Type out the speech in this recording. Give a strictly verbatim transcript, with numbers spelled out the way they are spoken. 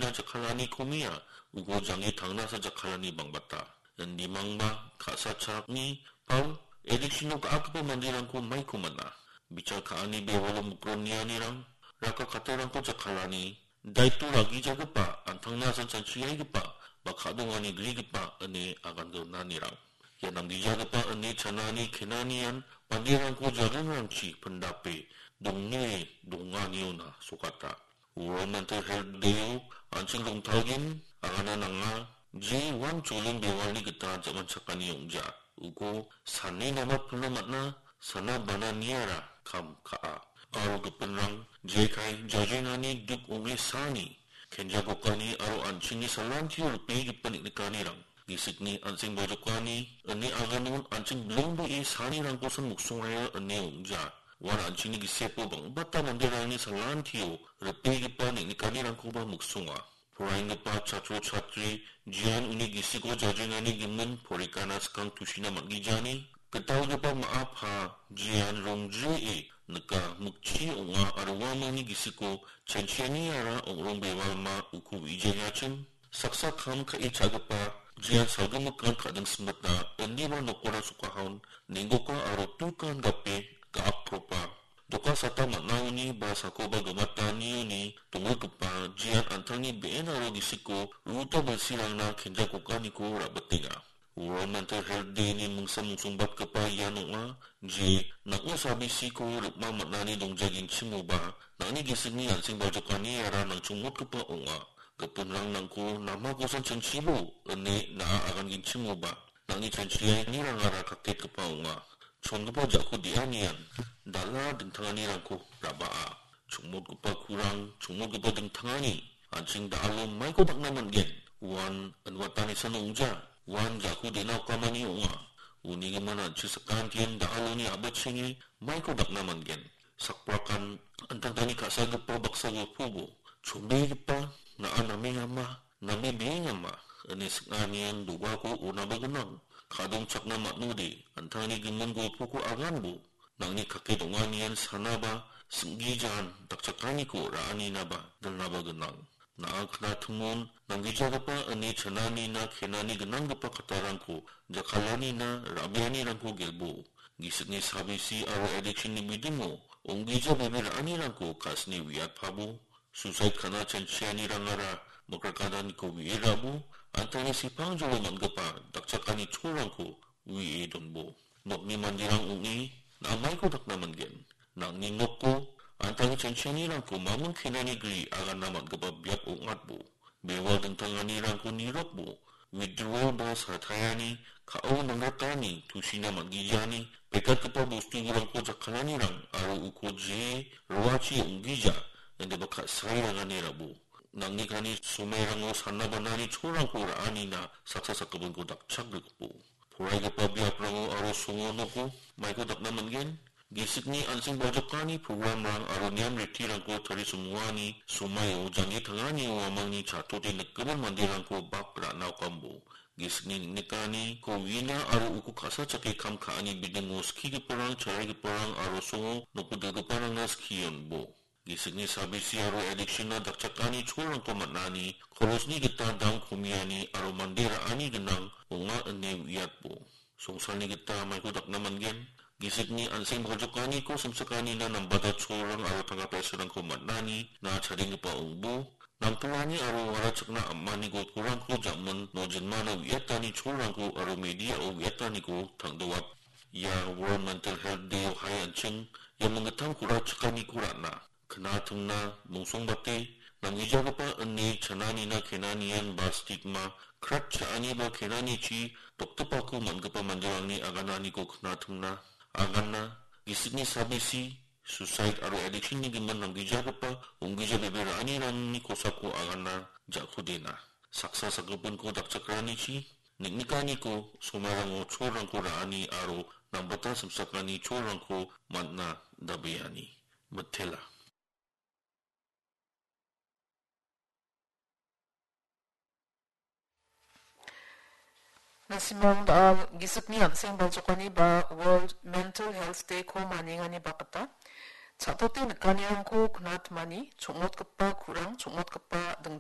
addiction-na jakkalani komia, uko jange tangnasa jakkalani bangbata. Indimangba ka·sachakni pao addiction-o ga·akgipa manderangko maiko man·a. Bichal ka·ani bewalo mikronianirang, raka katarangko jakkalani, daito ragijagipa, an·tangna asan chanchiaigipa, ba ka·dongani grigipa ine agan donanirang. Ia namgijagipa ine chanani kenanian manderangko jaringrangchi pindape dongne donganiona sokata. World Mental Health Day-o an·ching rongtalgen agana nanga, je uan cholin bewalni gita jamanchakani ong·ja. Uko sane namatpilna man·a, sana bana niara kam ka·a. Aro gipinrang jekai jajenani duk ong·e saani, kenjagokani aro an·chingni salantio ripegipa neng·nikanirang, gisikni an·seng bajokani, ine aganon an·ching bilongbee saanirangkosan miksongaia ine ong·ja. Uan an·chingni gisepo bang·bata manderangni salantio ripegipa neng·nikanirangkoba miksonga. Poraienggipa chatro chatri, jean uni gisiko jajenani gimin porikana skang tusina man·gijani, gitalgipa ma·a pa, jean rongjrie nika mikchi ong·a aro uamangni gisiko chanchianiara ong·rong bewalma uko we·jengachim. Saksa kam ka·e cha·gipa jean salgimikan ka·ding simitna indiba nokora sokahaon nenggoka aro tukan gape ga·akropa. Doka sata man·aoni ba sakoba gimatanioni donggipa jean an·tangni be·en aro gisiko ruta bilsirangna kenjakokaniko ra·bitenga. World Mental Health Day-ni mingsa mingsongbatgipa ian ong·a, je nang·o sabisiko rikma man·ani dongjagenchimoba, nang·ni gisikni an·seng baljokaniara nangchongmotgipa ong·a. Gipinrang nangko namakosan chanchibo, ine na·a agangenchimoba, nang·ni chanchianirangara kaketgipa ong·a. Chongipa ja·ko de·anian dal·a dingtanganirangko ra·baa. Chongmotgipa kurang, chongmotgipa dingtangani, an·ching da·alo maiko dakna man·gen? Uan inwatanisan ong·ja, uan ja·ko de·na okamani ong·a. Uni gimin an·ching sakantian da·aloni a·bachenge maiko dakna man·gen? Sakbrakan an·tangtangni ka·sagipa baksa golpobo, chonbegipa na·a namengama, name beengama, ine sing·anian dogako onaba gnang. Ka·dongchakna man·ode, an·tangni gimin golpoko aganbo, nang·ni kake dong·anian sanaba, sing·gijan dakchakaniko ra·aninaba dilnaba gnang. Na·a knatimon, nanggijagipa ine chananina kenani gnanggipa kattarangko, jakkalanina ra·bianirangko gelbo. Gisikni sabisi aro addiction-ni bidingo, ong·gija bebe ra·anirangko ka·sini uiatpabo. Suicide ka·na chanchianirangara mikrakadaniko we·e ra·bo, an·tangni sepangjolo man·gipa dakchakani cholrangko we·e donbo. Nokni manderang ong·e, na·a maiko dakna man·gen? Nang·ni noko, an·tangni chanchianirangko mamung kenani gri agana man·gipa biap ong·atbo. Bewal dingtanganirangko nirokbo. Withdrawal ba sataiani, ka·o nangrakani, tusina man·gijani, pekatgipa bosturangko jakkalanirang aro uko je roachi ong·gija, indiba ka·sairangani rabo. Nangni kani somairango sana banani cholrangko ra·anina saksa sakgipinko dakchakgrikbo. Poraigipa biaprango aro songo noko maiko dakna man·gen? Gisikni an·seng baljokani programrang aro niam ritirangko tarisonguani somaio janggi tangani uamangni chatote nikgimin manderangko bak ra·na okambo. Gisikni neng·nikaniko uina aro uko ka·sachake kam ka·ani bidingo skigiparang, charaigiparang aro songo noko dilgiparangna skionbo. Gisikni sabisi aro addiction-na dakchakani cholrangko man·ani, kolosni gita dam komiani aro mande ra·ani gnang ong·a ine uiatbo. Songsalni gita maiko dakna man·gen. Gisikni an·seng baljokaniko samsakanina nambata cholrang aro tangka paisarangko man·ani na chadenggipa ong·bo. Namtolani aro warachakna am·ani golporangko jamin nojinmana uiatani cholrangko aro media-o uiataniko tangdoap. Ia World Mental Health Day-o hai an·ching ia minggittamko ra·chakaniko ra·na. Knatimna, mungsongbate, namgijagipa ine chananina kenanian ba stigma, krat cha·ani ba kenanichi doktipako man·gipa manderangni agananiko knatimna, agana, gisikni sabisi, suicide aro addiction-ni gimin namgijagipa, ong·gija bebe ra·anirangni kosako agana, ja·kodena. Saksa sakgipinko dakchakranichi, neng·nikaniko, somairango cholrangko ra·ani aro nambata samsakani cholrangko man·na dabeani. Mitela. Nasimang da·al gisikni an·seng baljokani ba World Mental Health Day-ko maniengani bakgita, cha·tote nikanirangko knatmani, chongmotgipa kurang, chongmotgipa dingtang